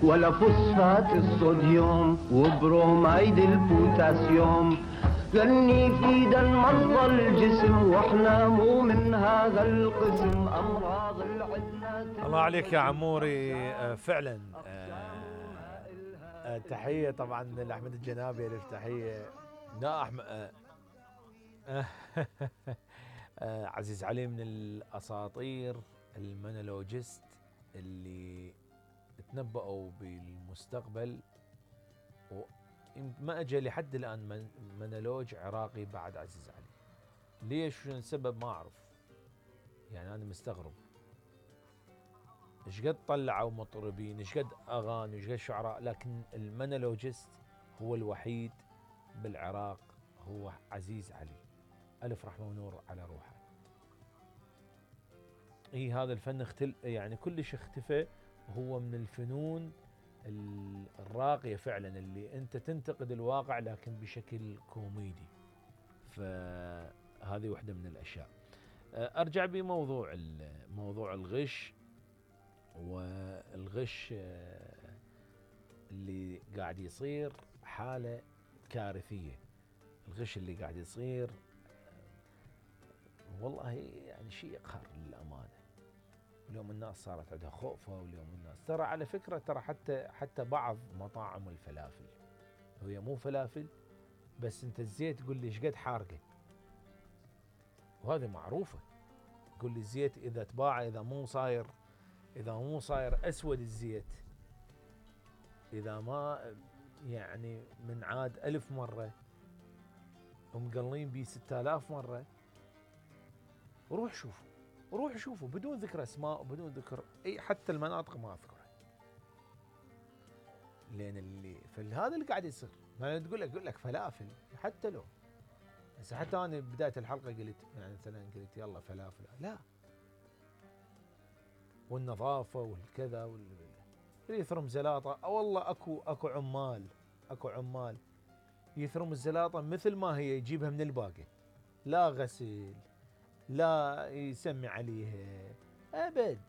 ولا فوسفات الصوديوم وبروميد البوتاسيوم، لن يفيد مرضى الجسم واحنا مو من هذا القسم. امراض العدنا الله عليك يا عموري. فعلا تحية طبعا لأحمد الجنابي، ألف تحية. لا أحمد عزيز علي من الأساطير المونولوجيست اللي تنبأوا بالمستقبل، وما أجى لحد الآن مونولوج عراقي بعد عزيز علي. ليش؟ شنو السبب؟ ما أعرف، يعني أنا مستغرب. ايش قد طلعوا مطربين، ايش قد اغاني، ايش قد شعراء، لكن المونولوجيست هو الوحيد بالعراق، هو عزيز علي، الف رحمه ونور على روحه. هذا الفن يعني كلش اختفى، وهو من الفنون الراقيه فعلا اللي انت تنتقد الواقع لكن بشكل كوميدي. فهذه واحده من الاشياء. ارجع بموضوع موضوع الغش، والغش اللي قاعد يصير حالة كارثية. الغش اللي قاعد يصير والله يعني شيء يقهر للأمانة. اليوم الناس صارت عندها خوفة، واليوم الناس ترى على فكرة ترى حتى بعض مطاعم الفلافل هي مو فلافل، بس انت الزيت تقول لي ايش قد حارقة، وهذه معروفة. تقول لي الزيت اذا تباع اذا مو صاير اسود الزيت، اذا ما يعني من عاد 1000 مرة ومقلين بيه 6000 مرة، روح شوفوا بدون ذكر اسماء وبدون ذكر اي حتى المناطق ما اذكرها. لان هذا اللي قاعد يصير. ما تقول لك فلافل، حتى لو هسه حتى انا بداية الحلقة قلت يعني مثلا قلت يلا فلافل، لا، والنظافة والكذا اللي يثرم زلاطة. والله اكو عمال يثرم الزلاطة مثل ما هي، يجيبها من الباقة، لا غسل لا يسمي عليها ابد.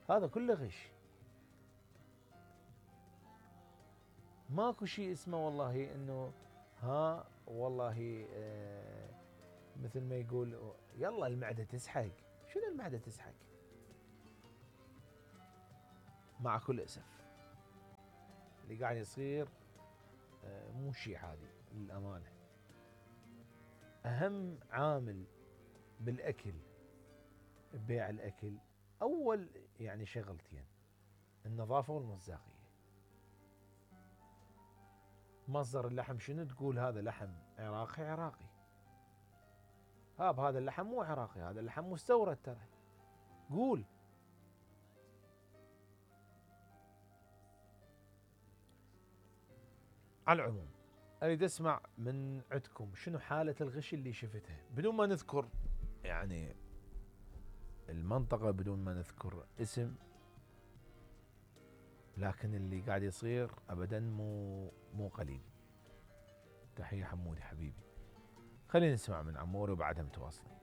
هذا كله غش، ماكو شيء اسمه والله انه والله مثل ما يقول يلا المعدة تسحق. شنو المعدة تسحق؟ مع كل اسف اللي قاعد يصير مو شيء عادي للأمانة. أهم عامل بالأكل، ببيع الأكل، أول يعني شغلتين: النظافة والمصداقية. مصدر اللحم شنو؟ تقول هذا لحم عراقي. هذا اللحم مو عراقي، هذا اللحم مستورد ترى. قول. على العموم اريد اسمع من عندكم شنو حالة الغش اللي شفتها، بدون ما نذكر يعني المنطقة، بدون ما نذكر اسم، لكن اللي قاعد يصير ابدا مو قليل. تحية حمودي حبيبي. خلينا نسمع من عموري وبعدها متواصلين.